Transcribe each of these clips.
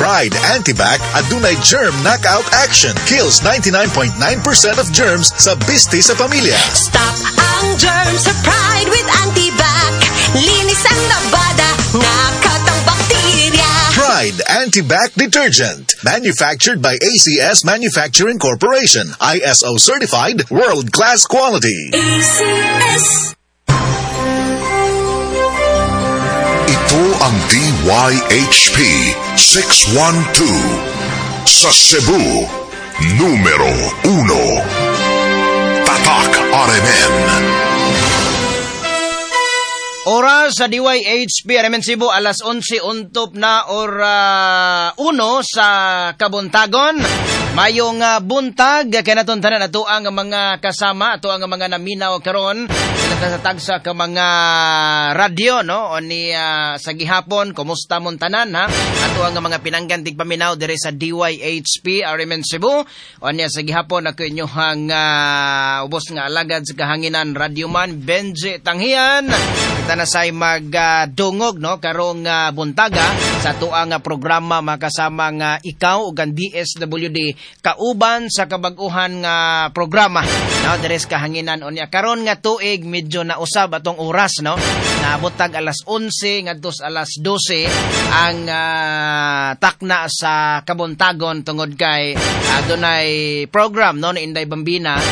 Pride Antibac adunay germ knockout action. Kills 99.9% of germs sa bisti sa pamilya. Stop ang germs sa Pride with Antibac. Linis ang labada, knockout ang bakterya. Pride Antibac Detergent. Manufactured by ACS Manufacturing Corporation. ISO certified, world-class quality. ACS. Ito ang DYHP 612 sa Cebu, numero 1. Tatak RMN. Oras sa DYHP RMN Cebu, alas 11 untop na or 1 sa kabuntagon. Mayong buntag kanaton tanan ato ang mga kasama, ato ang mga naminaw karon sa tagsa ka mga radyo, no, o ni sa gihapon. Kumusta mon tanan, ha? Ato ang mga pinanggan tigpaminaw dire sa DYHP RMN Cebu. O niya sa gihapon, ako inyohang ubos nga alagad sa kahanginan, radyoman Benji Tanghian. Kita na say magdungog, no, karong buntaga sa atuang programa makasama nga ikaw ug ang DSWD kauban sa kabag-uhan nga programa, no, dire sa kahanginan. Unya karon nga tuig medyo nausab atong oras, no, naabot tag alas 11 ngadto sa alas 12 ang takna sa kabuntagon tungod kay adunay program, no, ni Inday Bambina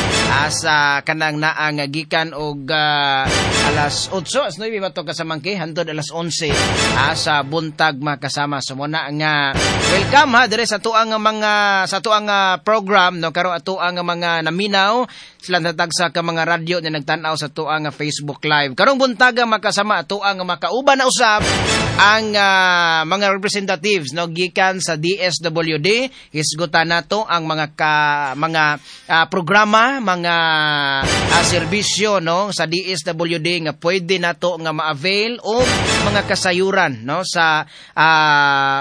sa kanang naang gikan og alas 8, alas 9 ba to, kasamangki, hantod alas 11 sa buntag, makasama. So muna nga welcome ha dire sa tuang mga sa tuang program, no, karon ato ang mga naminaw sila natagsa ka mga radyo na nagtan-aw sa tuang Facebook Live karong buntaga, makasama. Ato ang makauban na usab ang mga representatives, no, gikan sa DSWD. Hisgutan nato ang mga ka, mga programa, mga serbisyo, no, sa DSWD nga pwede nato nga ma-avail o mga kasayuran, no, sa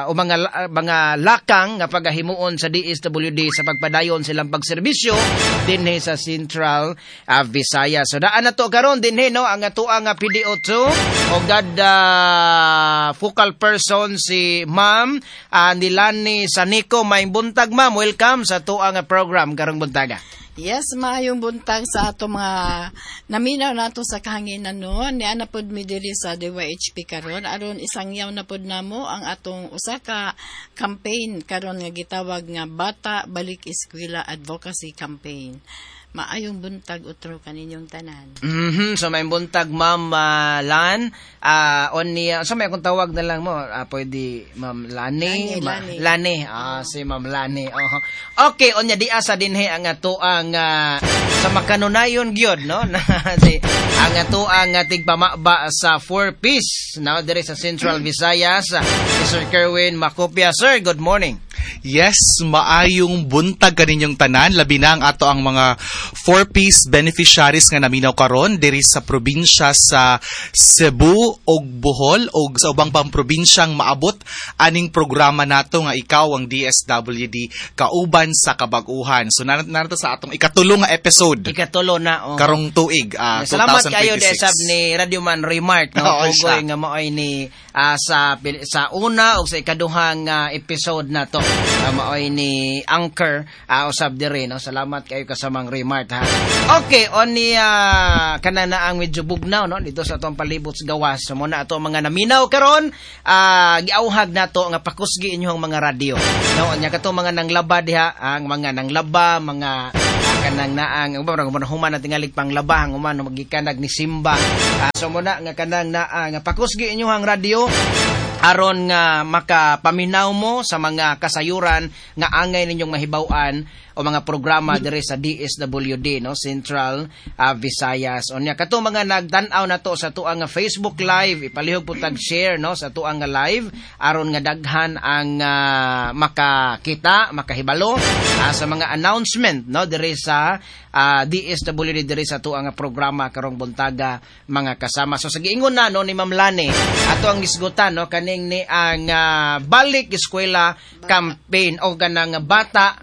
o mga lakang nga pagahimuon sa DSWD sa pagpadayon silang pagserbisyo dinhi sa Central Visayas. So daan na to karon dinhi, no, ang atoang PDO2 o gad focal person, si Ma'am Nilani Sanico. May buntag, ma'am. Welcome sa atoang program karong buntaga. Yes, maayong buntag sa ato mga naminaw nato sa kahanginan, no. Niana pod mi diri sa DYHP karon aron isangyaw na pod namo ang atong usa ka campaign karon nga gitawag nga Bata Balik Eskwela Advocacy Campaign. Maayong buntag utro kaninyong tanan. So may buntag, Ma'am Lan. On niya so may akong tawag na lang mo. Pwede Ma'am Lani, Lani, Lani. Lani. Si Ma'am Lani. Oh. Okay, onya di asa dinhi ang atoang sa makanunayon gyud, no, na si ang atoang tigpamaba sa 4 piece, no, dire sa Central Visayas, si Sir Kerwin Makopia. Sir, good morning. Yes, maayong buntag kaninyong tanan, labi na ang ato ang mga 4Ps beneficiaries nga naminaw karon diri sa probinsya sa Cebu ug Bohol ug sa ubang pang probinsyang maabot aning programa nato nga ikaw ang DSWD kauban sa kabag-uhan. So narito sa atong ikatulo nga episode Ikatulo na, oh. karong tuig Salamat kayo 2026. sab ni Radio Man Remark, no, Oo, pugoy siya. nga maoy ni sa sa una o sa ikaduhang episode na to, maoy ni anchor usab diri, no. Salamat kayo kasamang Remark, ha. Okay, on ni kana na ang medyo bugnaw, no, dito sa atong palibot sa gawas. So mo na ato mga naminaw karon, giauhag nato nga pakusgi inyong mga radyo, no. Nya kato mga nanglaba diha, ang mga nanglaba, mga kanang naang uban man human na tingalig panglaba ang human magikanag ni Simba. So muna nga kanang naa nga pakusgi inyong radyo aron nga makapaminaw mo sa mga kasayuran nga angay ninyong mahibaw-an o mga programa diri sa DSWD, no, Central Visayas. Unya kato mga nagtan-aw nato sa tuang nga Facebook Live, ipalihog po tag share, no, sa tuang nga live aron nga daghan ang makakita, makahibalo sa mga announcement, no, diri sa DSWD, diri sa tuang nga programa karong buntaga, mga kasama. So sa giingon na, no, ni Ma'am Lani, ato ang isgutan, no, kaning Kining ni ang Balik Eskwela campaign o kanang bata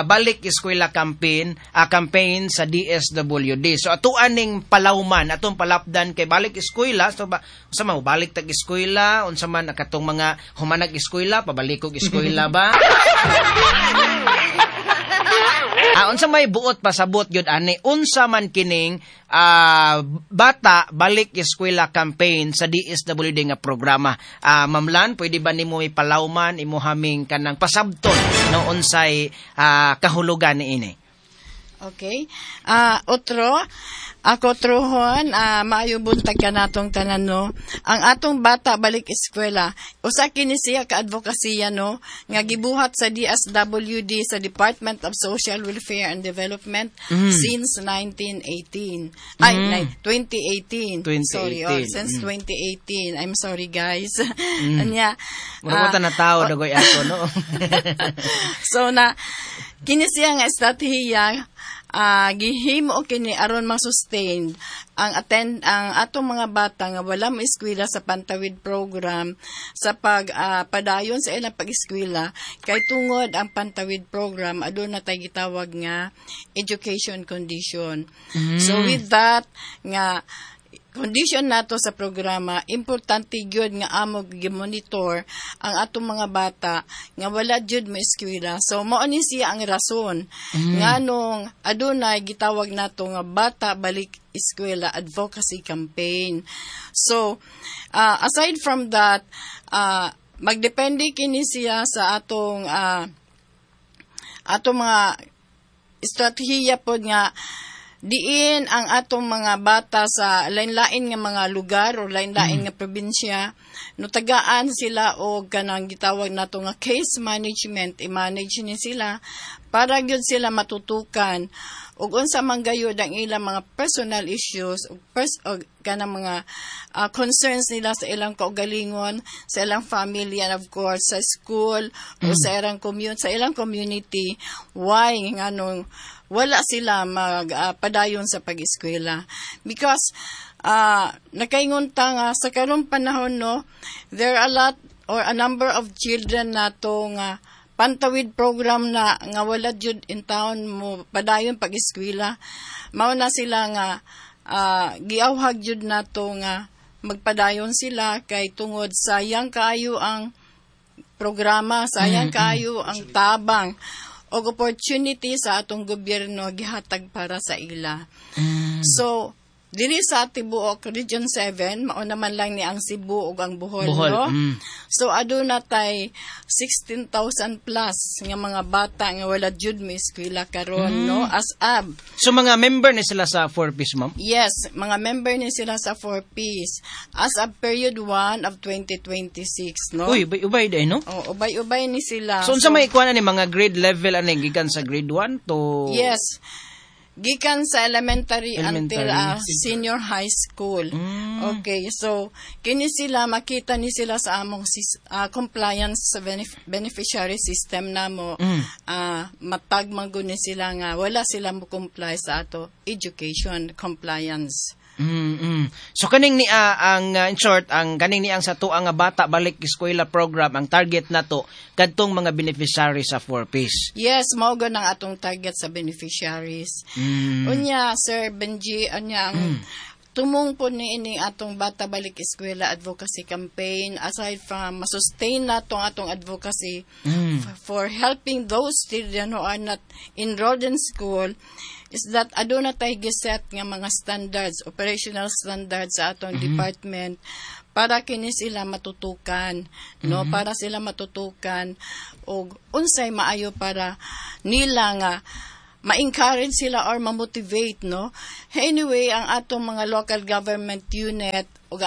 balik eskwela campaign, campaign sa DSWD. So atuan ning palawman, atong palapdan kay balik eskwela, so ba unsa man balik tag eskwela, unsa man katong mga humanag eskwela, pabalik og eskwela ba? Unsa may buot pasabot gyud ani, unsa man kining Bata Balik Eskwela campaign sa DSWD nga programa? Ma'am Lan, pwede ba nimo ipalawman imo haming kanang pasabton no unsay kahulugan niini? Okay. Otro, ako truhon, maayo buntag ka natong tanan, no. Ang atong Bata Balik Eskwela, usa kini siya ka advokasya, no, nga gibuhat sa DSWD, sa Department of Social Welfare and Development, since 1918. Ay, 2018. 2018. Sorry, oh, since 2018. I'm sorry, guys. Anya. Mura na tao dagoy ako, no. So na kini siya nga estratehiya, gihimo kini aron ma-sustain ang attend ang atong mga bata nga wala mo-eskwela sa Pantawid program sa pag padayon sa ilang pag-eskwela, kay tungod ang Pantawid program aduna tay gitawag nga education condition. So with that nga condition nato sa programa, importante gyud nga amo gi-monitor ang atong mga bata nga wala gyud moeskwela. So mao ni siya ang rason nganong adunay gitawag nato nga Bata Balik Eskwela Advocacy Campaign. So aside from that, magdepende kini siya sa atong mga estratehiya pod nga diin ang atong mga bata sa lain-lain nga mga lugar o lain-lain nga probinsya, no, tagaan sila og kanang gitawag nato nga case management, i-manage ni sila para gyud sila matutukan ug unsa man gayud ang ilang mga personal issues ug kanang mga concerns nila sa ilang kaugalingon, sa ilang family, and of course sa school o sa ilang community, why nganong wala sila mag padayon sa pag-eskwela, because nakaingon ta nga sa karong panahon, no, there are a lot or a number of children nato nga Pantawid program na nga wala jud in town mo padayon pag-eskwela. Mao na sila nga giawhag jud nato nga magpadayon sila kay tungod sayang kaayo ang programa, sayang kaayo ang tabang og opportunity sa atong gobyerno gihatag para sa ila. So diri sa tibuok Region 7, mao naman lang ni ang Cebu ug ang Bohol, Bohol, no? So aduna tay 16,000 plus nga mga bata nga wala jud moeskwela karon, no, as of So mga member ni sila sa 4Ps, ma'am? Yes, mga member ni sila sa 4Ps as of period 1 of 2026, no? Uy, ubay day, no? Oh, ubay-ubay ni sila. So unsa may kuan ni mga grade level ani, gikan sa grade 1 to Yes. Gikan sa elementary, Elementary. until senior high school. Okay, so kini sila makita ni sila sa among compliance sa beneficiary system namo. Matag man gud ni sila nga wala sila mo comply sa ato education compliance. So kaning ni ang in short, ang kaning ni ang sa tuang nga Bata Balik Eskwela program, ang target nato kadtong mga beneficiary sa 4Ps. Yes, mao gud ang atong target sa beneficiaries. Unya, Sir Benji, unya ang tumong po ni ini atong Bata Balik Eskwela Advocacy Campaign, aside from masustain nato ang atong advocacy for helping those children who are not enrolled in school, is that aduna tay giset nga mga standards, operational standards sa atong department para kini sila matutukan, no, para sila matutukan og unsay maayo para nila nga ma-encourage sila or ma-motivate, no. Anyway, ang atong mga local government unit ug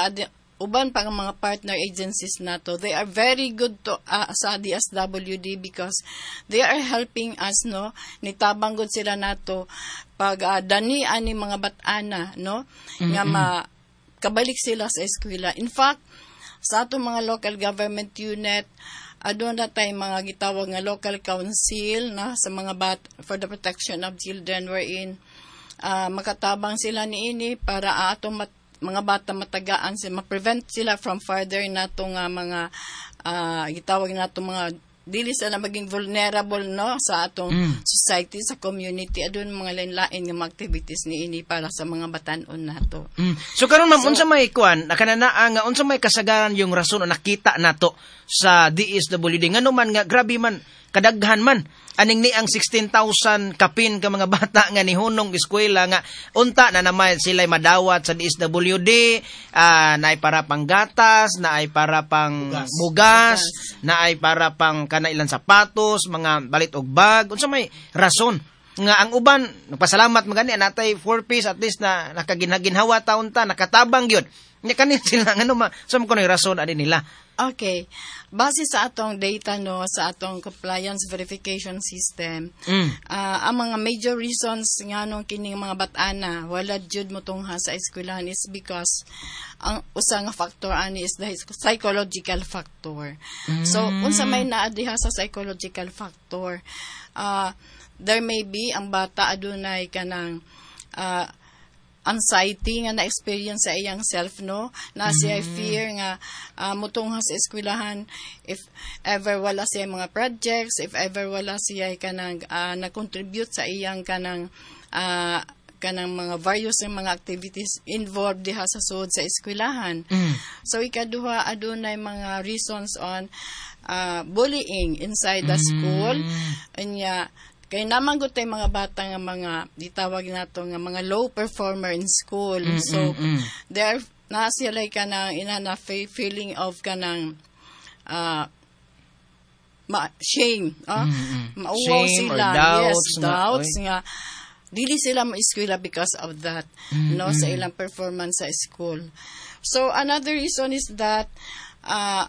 uban pa ang mga partner agencies nato, they are very good to sa DSWD because they are helping us, no. Nitabang gud sila nato pag dani ani mga bat-ana, no, nga ma kabalik sila sa eskwela. In fact, sa atong mga local government unit, aduna tay mga gitawag nga local council na sa mga for the protection of children, wherein makatabang sila niini para atong mga bata matagaan sila, ma-prevent sila from further nato nga mga gitawag nato mga dili sila maging vulnerable, no, sa atong society, sa community. Adun mga lain-lain nga mga activities niini para sa mga batan-on nato. So karon, ma'am, unsa may kuan, nakananaa nga unsa may kasagaran yung rason o nakita nato sa DSWD, ngano man nga grabe man kadaghan man aning ni ang 16,000 kapin ka mga bata nga nihunong eskwela nga unta na naman sila madawat sa DSWD, naay para pang gatas, naay para pang bugas, naay para pang kanailan sapatos, mga balit og bag? Unsa may rason nga ang uban nagpasalamat magani natay four piece, at least na nakaginhaginhawa taon ta, nakatabang gyud nya kanin sila, ngano ma sa mo kuno rason ani nila? Okay. Base sa atong data, no, sa atong compliance verification system, ang mga major reasons nganong kining mga bat-ana wala jud motungha sa eskwelahan is because ang usa nga factor ani is the psychological factor. So, unsa may naa diha sa psychological factor? There may be ang bata adunay kanang anxiety nga na-experience sa iyang self, no, na siya fear nga mutungha sa eskwelahan if ever wala siya mga projects, if ever wala siya kanang na-contribute sa iyang kanang mga various nga mga activities involved diha sa sud sa eskwelahan. So ikaduha, adunay mga reasons on bullying inside the school. Unya kay naman gud tay mga bata nga mga gitawag nato nga mga low performer in school. So there na sila kanang ina na feeling of kanang shame, ah? Mauwaw Shame or sila. Doubts Yes, nga, doubts oy. Nga dili sila ma-eskwela because of that, no, sa ilang performance sa school. So another reason is that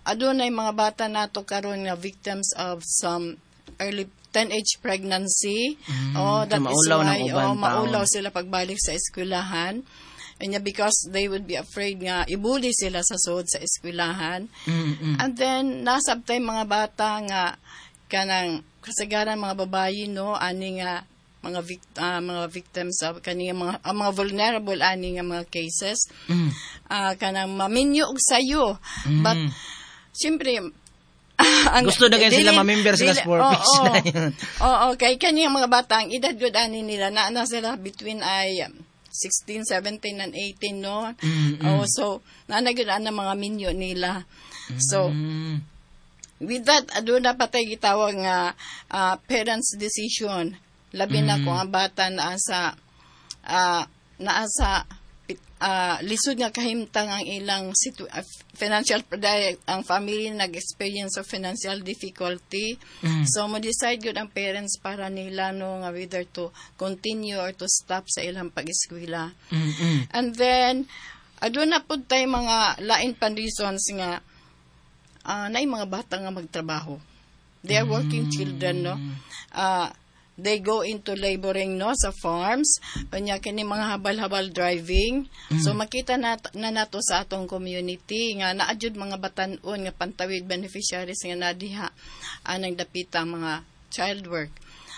adunay mga bata nato karon nga victims of some early teenage pregnancy. Oh, that So is maulaw ng why uban oh, taon. Maulaw sila pagbalik sa eskwelahan. Anya because they would be afraid nga ibuli sila sa sud sa eskwelahan. And then nasabtay mga bata nga kanang kasagaran mga babayi, no, ani nga mga victims of kani nga mga ang mga vulnerable ani nga mga cases, kanang maminyo og sayo, but siyempre Gusto na kayo sila ma-member sila sa four piece na yun. Oo, kay kani ang mga bata, ang edad gud ani nila na sila between ay 16, 17 and 18, no. Oh, so naa gyud ana mga minyo nila. So with that, aduna pa tay gitawag nga parents' decision, labi na kung ang bata naa sa lisod nga kahimtang ang ilang financial dahil ang family nag-experience of financial difficulty. So mo decide gyud ang parents para nila, no, nga whether to continue or to stop sa ilang pag-eskwela. And then aduna pud tay mga lain pan reasons nga naay mga bata nga magtrabaho. They are working children, no. They go into laboring, no, sa farms, unya kini mga habal-habal driving. So makita na nato sa atong community nga naa jud mga batan-on nga Pantawid beneficiaries nga nadiha anang dapita mga child work.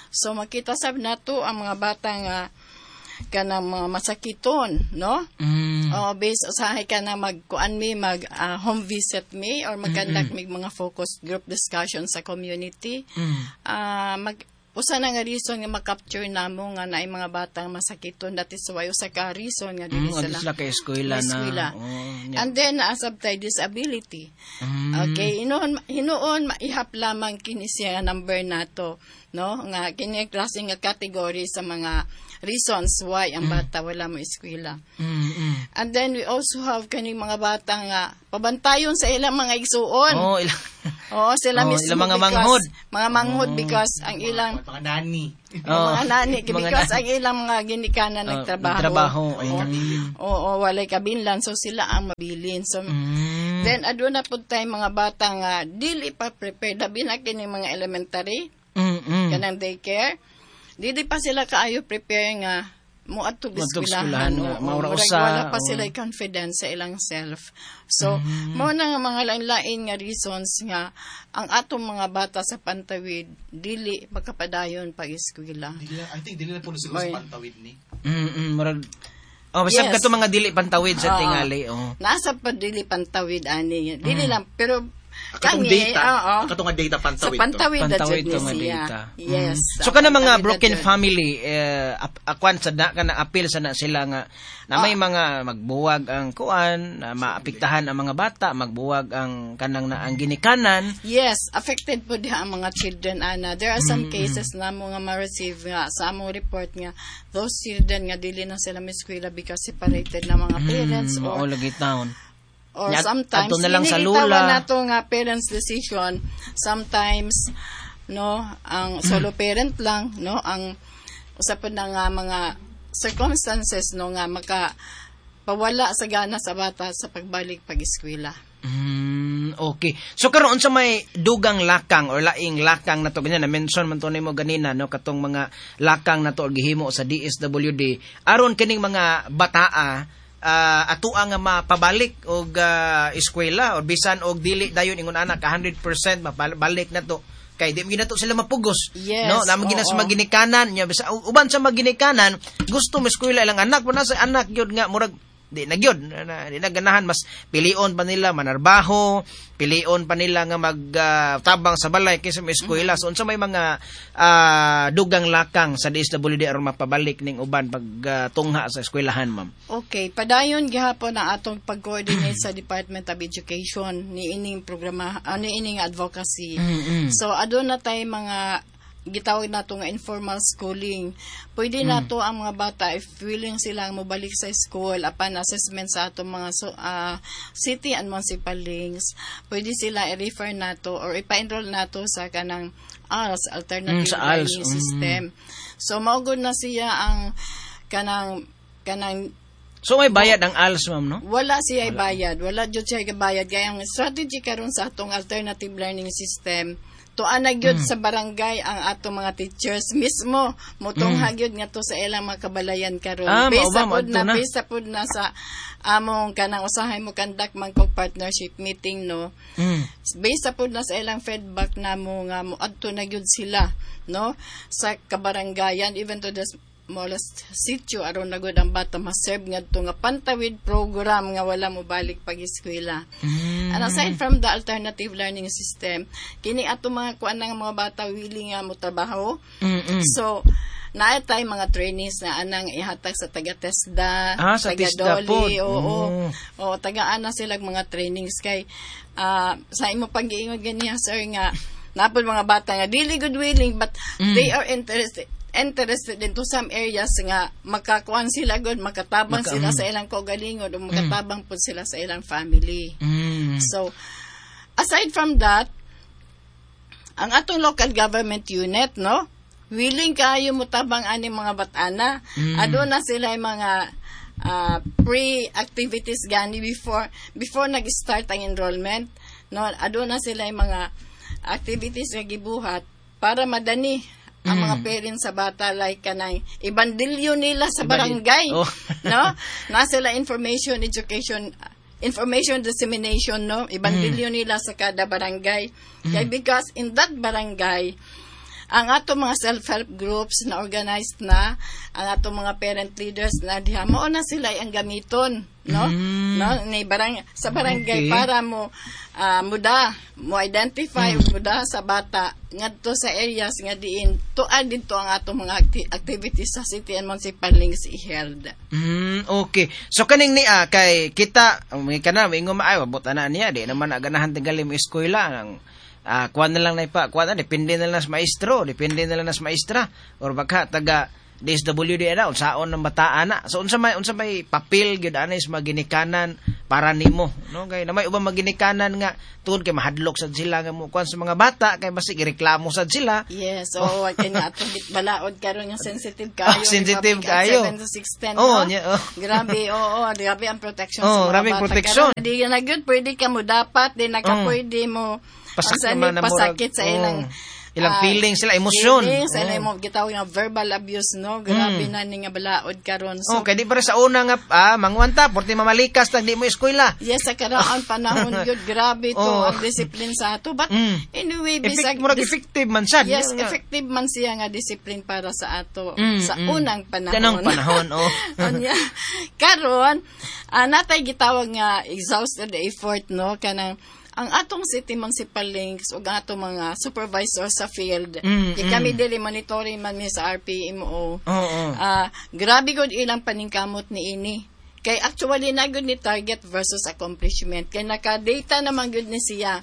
So makita sab nato ang mga bata nga kanang mga masakiton, no. Oh, based usahay ka na magkuan mi, mag home visit mi or mag-conduct mi mga focus group discussion sa community. Mag usa na nga reason nga ma-capture namo nga naay mga bata nga masakiton. That is why usa ka reason nga dili Adto sila sila kay eskwela na. eskwela. Oh, yeah. And then naasab tay disability. Okay, hinuon hinuon maihap lamang kini siya nga number nato, no? Nga kini klase nga category sa mga reasons why ang bata wala mo eskwela. And then we also have kaning mga bata nga pabantayon sa ilang mga igsuon. Oh, ilang Oo, sila Oh, mismo ilang mga because, manghod. mga manghod because ang ilang Mga nani. Oh, mga nani mga because nani. ang ilang mga ginikanan Oh, nagtrabaho. nagtrabaho. Oo, oo, walay kabinlan, so sila ang mabilin. So then aduna pud tay mga bata nga dili pa prepared, labi na kini mga elementary, kanang daycare. Dili pa sila kaayo prepare nga moadto Moadtog eskwelahan. eskwelahan nga, Oo, maura murag usa, wala pa oo. sila confidence sa ilang self. So, mao na nga mga lain-lain nga reasons nga ang atong mga bata sa Pantawid dili makapadayon pag-eskwela. Dili na- I think dili na puno siguro Oy. sa Pantawid ni. Murag Oh, basta Yes. kato mga dili pantawid sa Oo. tingali, oh. Nasa pa dili pantawid ani. Dili lang pero Katong kangi, data, oo. katong nga data Sa pantawid to. pantawid na Pantawid jud to ni nga siya. data. Yes. So kana mga Pantawid na broken jud. family akuan sa na kana appeal sa na sila nga na may mga magbuwag ang kuan, na maapektahan ang mga bata, magbuwag ang kanang na ang ginikanan. Yes, affected po diha ang mga children ana. There are some cases na mo nga ma-receive nga sa among report nga those children nga dili na sila miskwela because separated na mga parents Mao or lagi taon. or Nya- sometimes adto na lang sa hindi gitawa lula. nato nga parents decision. Sometimes no ang solo parent lang no ang usa pa na nga mga circumstances no nga maka pawala sa gana sa bata sa pagbalik pag-eskwela. Okay. So karon sa may dugang lakang or laing lakang na to ganyan na mention man to nimo ganina no katong mga lakang na to or gihimo sa DSWD aron kining mga bataa atua nga mapabalik og eskwela or bisan og dili dayon ingon ana ka 100% mapabalik na to kay di mo to sila mapugos Yes, no namo gina sa oo. maginikanan nya bisa uban sa maginikanan gusto mo eskwela ilang anak wala sa anak gyud nga murag di na gyud di na ganahan, mas pilion pa nila manarbaho, pilion pa nila nga magtabang sa balay kaysa may eskwela. So unsa may mga dugang lakang sa DSWD aron mapabalik ning uban pag tungha sa eskwelahan, ma'am? Okay, padayon gihapon ang atong pag-coordinate sa Department of Education ni ining programa, ni ining advocacy. So aduna tay mga gitawag nato nga informal schooling. Pwede nato ang mga bata if willing sila mobalik sa school upon assessment sa atong mga city and municipal links. Pwede sila i-refer nato or ipa-enroll nato sa kanang ALS, Alternative Sa ALS, Learning System. So mao gud na siya ang kanang kanang So may bayad ang ALS, ma'am, no? Wala siya bayad. Wala jud siya bayad. Kaya ang strategy karon sa atong alternative learning system, tuan na gyud sa barangay ang atong mga teachers mismo motungha gyud ngadto sa ilang mga kabalayan karon. Mao Based ba, sa pod maadto na, na. based sa pod na sa among kanang usahay mo conduct man kog partnership meeting no. Based sa pod na sa ilang feedback namo nga moadto na gyud sila no sa kabarangayan even to the smallest sitio aron na gud ang bata ma-serve ngadto nga pantawid program nga wala mo balik pag-eskwela. And aside from the alternative learning system, kini ato mga kuan ng mga bata willing nga mo trabaho. So naa tay mga trainings na anang ihatag sa taga TESDA, Sa taga TESDA Doli, pod. oo. Oo, taga ana sila mga trainings kay sa imo pag-iingon ganiya sir nga napod mga bata nga dili good willing but they are interested into some areas nga makakuan sila good, makatabang sila sa ilang kaugalingon o makatabang pud sila sa ilang family. So aside from that, ang atong local government unit no, willing kaayo motabang ani mga batana. Aduna sila yung mga pre-activities gani before nag-start ang enrollment no, aduna sila yung mga activities nga gibuhat para madani ang mga parents sa bata like kanang ibandilyo nila sa barangay. Oh. No, na sila information education information dissemination no, ibandilyo nila sa kada barangay. Kay because in that barangay ang ato mga self-help groups na organized na, ang ato mga parent leaders na diha, mao na sila ang gamiton, no? No, ni barang sa barangay Okay. para mo muda, mo identify muda sa bata ngadto sa areas nga diin tuad didto ang ato mga activities sa city and municipal links i-held. Okay. So kaning niya kay kita may kana maingon maayo abot ana niya di naman aganahan tingali mo eskwela ang kuan na lang na ipa, kuan na, depende na lang sa maestro, depende na lang sa maestra or baka taga DSWD ana unsaon ng bataan na. So unsa may papel gyud ana is maginikanan para nimo no kay na may ubang maginikanan nga tungod kay mahadlok sad sila nga mo kuan sa mga bata kay basig ireklamo sad sila. Yes, oo, oh, kay na atong balaod karon nga sensitive kayo. Oh, sensitive Republic Act kayo. 7610, Oh, no? nya, oh. Grabe, oo, grabe ang protection Oh, sa mga grabe ang bata. protection. Karon, di na gyud pwede ka mo dapat, di na ka pwede mo Pasak ang naman na murag- pasakit sa ilang Ilang feelings sila, emosyon. Feelings, oh. Imo gitawag nga verbal abuse, no? Grabe na ni nga balaod karon. So, okay, di para sa una nga manguanta porti mamalikas tag di mo eskwela. Yes, sa karaang panahon gyud grabe to ang discipline sa ato. But anyway, bisag murag effective man sad. Yes, effective man siya nga discipline para sa ato sa unang panahon. Kanang panahon, oh. Unya, karon natay gitawag nga exhausted effort, no, kanang ang atong city municipal links ug ang atong mga supervisor sa field. Kami dili monitoring man mi sa RPMO. Grabe gud ilang paningkamot niini. Kay actually na gud ni target versus accomplishment. Kay naka-data naman gud ni siya.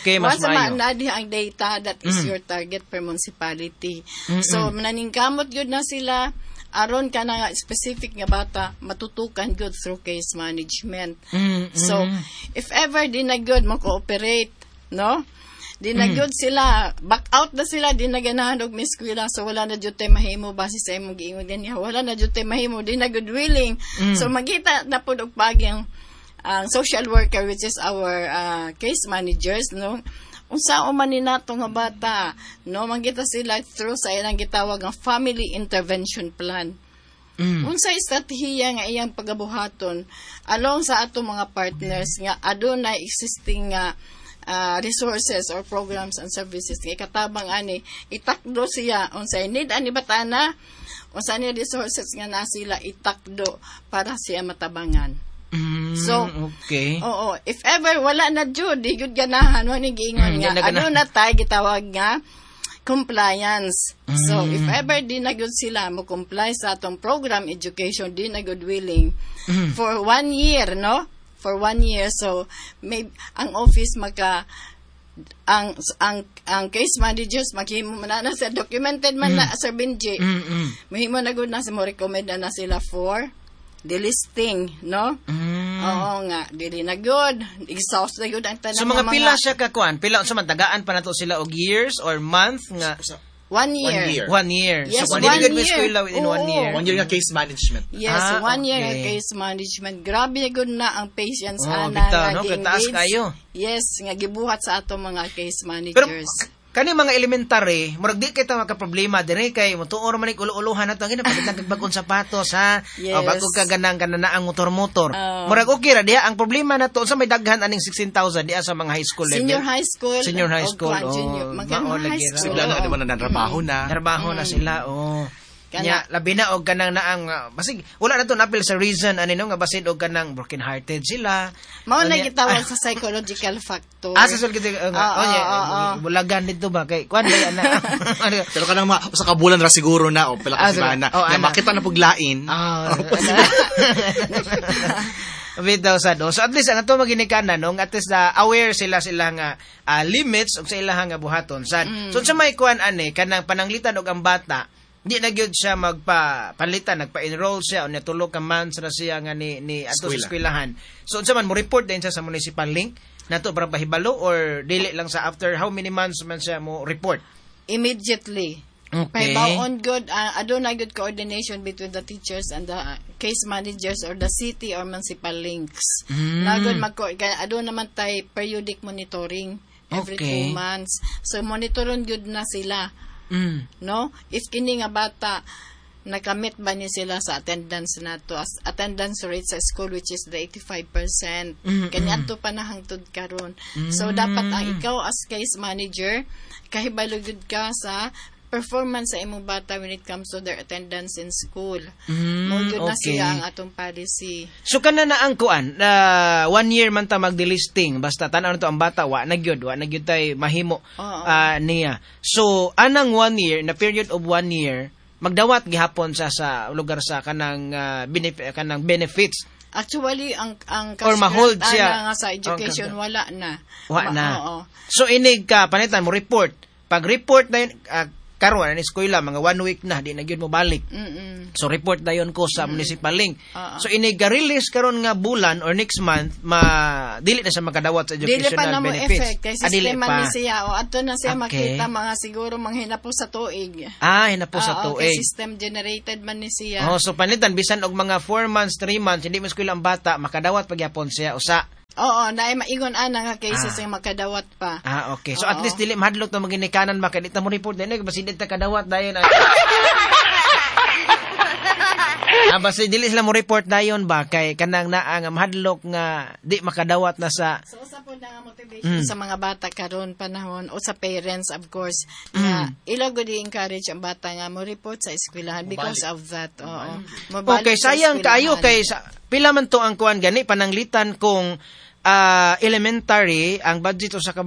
Okay, mas maayo. Once maanadi ang data, that is your target per municipality. So naningkamot gud na sila aron ka na nga specific nga bata matutukan good through case management. So if ever di na good mo cooperate, no? Di na good sila, back out na sila, di na ganahan og miskwela, so wala na jud tay mahimo base sa imong giingon ganiha, wala na jud tay mahimo, di na good willing. So magita na pud og pagi ang social worker, which is our case managers, no? Unsa man ni nato nga bata, no, mangita sila through sa ilang gitawag ang family intervention plan. Unsa estratehiya nga iyang pagabuhaton along sa ato mga partners nga adunay existing nga resources or programs and services nga ikatabang ani itakdo siya unsay need ani batana, unsa ni resources nga na sila itakdo para siya matabangan. So, okay. Oo, if ever wala na jud, di jud ganahan, wa ni giingon nga ano na tay gitawag nga compliance. So, if ever di na gud sila mo comply sa atong program education, di na gud willing for 1 year, no? For 1 year, so may ang office maka ang case managers maghimo man na sa documented man na Sir Benji. Mahimo na gud na sa mo recommend na sila for delisting, no? Oo nga, dili na good. Exhaust na good ang tanan. So mga pila siya ka kuan? Pila unsa man tagaan pa nato sila og years or month nga? 1 year. 1 year. Yes, so, 1 year. Eskwela within 1 year. 1 year nga case management. Yes, 1 year nga case management. Grabe gud na ang patience ana bitaw, no? Kataas kayo. Yes, nga gibuhat sa ato mga case managers. Pero, kani mga elementary, murag di kay ta makaproblema dire kay motuor man ulo-ulohan nato ang pagkatang kag bag-ong sapatos ha. Yes. O bago ka ganang kananaang motor-motor. Murag okay ra diha ang problema nato sa may daghan aning 16,000 diha sa mga high school level. Senior high school. Senior high school. Junior, high school. Sila na naman na trabaho na. Trabaho na sila, oh. Nya labi na og kanang naang basig wala na to napil sa reason ani no nga basin og kanang broken hearted sila. Mao na gitawag sa psychological factor. Sa psychological bulagan dito ba kay kuan ba na. Pero kanang sa kabulan ra siguro na o pila ka semana na makita na pug lain. Bitaw sa do. So at least ang ato maginikanan no, at least aware sila nga limits og sa ilahang buhaton sad. So sa may kuan ani kanang pananglitan og ang bata di na gyud siya magpapalitan, nagpa-enroll siya o natulo ka months ra siya nga ni ato sa eskwelahan. So unsa man mo report din siya sa municipal link nato para pahibalo or dili lang sa after how many months man siya mo report? Immediately. Okay. Pahibaw-on good, aduna good coordination between the teachers and the case managers or the city or municipal links. Na good kaya aduna man tay periodic monitoring every 2 months. So monitoron good na sila. No? If kini nga bata nakamit ba ni sila sa attendance nato as attendance rate sa school which is the 85%. Kani adto pa na hangtod karon. So dapat ang ikaw as case manager kahibalo gud ka sa performance sa imong bata when it comes to their attendance in school. Mao gyud na siya ang atong policy. So kana na ang kuan, 1 year man ta magdelisting basta tan-aw nato ang bata wa na gyud tay mahimo niya. So anang 1 year na period of 1 year magdawat gihapon sa lugar sa kanang kanang benefits. Actually ang or mahold siya nga sa education wala na. Wa na. Oo. So inig ka panitan mo report. Pag report na yun, karon ani eskwela mga 1 week na di na gyud mo balik. So report dayon ko sa municipal link. So inig release karon nga bulan or next month ma dili na siya makadawat sa educational dili pa na mo benefits. Effect kay sistema ni siya o adto na siya makita mga siguro manghinapos sa tuig. Hinapos sa tuig. Kay system generated man ni siya. Oh, so panitan bisan og mga 4 months, 3 months hindi mo eskwela ang bata makadawat pagyapon siya usa. Oo, naay maingon ana nga cases nga makadawat pa. Ah, okay. So at least dili mahadlok ta maginikanan ba kay di ta mo report dinhi, basin di ta kadawat dayon. Ah, basta dili sila mo report dayon ba kay kanang naa nga mahadlok nga di makadawat na sa So usa po na nga motivation sa mga bata karon panahon o sa parents, of course, nga ila gud i-encourage ang bata nga mo report sa eskwelahan because of that. Oo. Mobalik Okay, sa sayang kaayo eskwelahan. Kay sa, pila man to ang kuan gani pananglitan kung elementary ang budget usa ka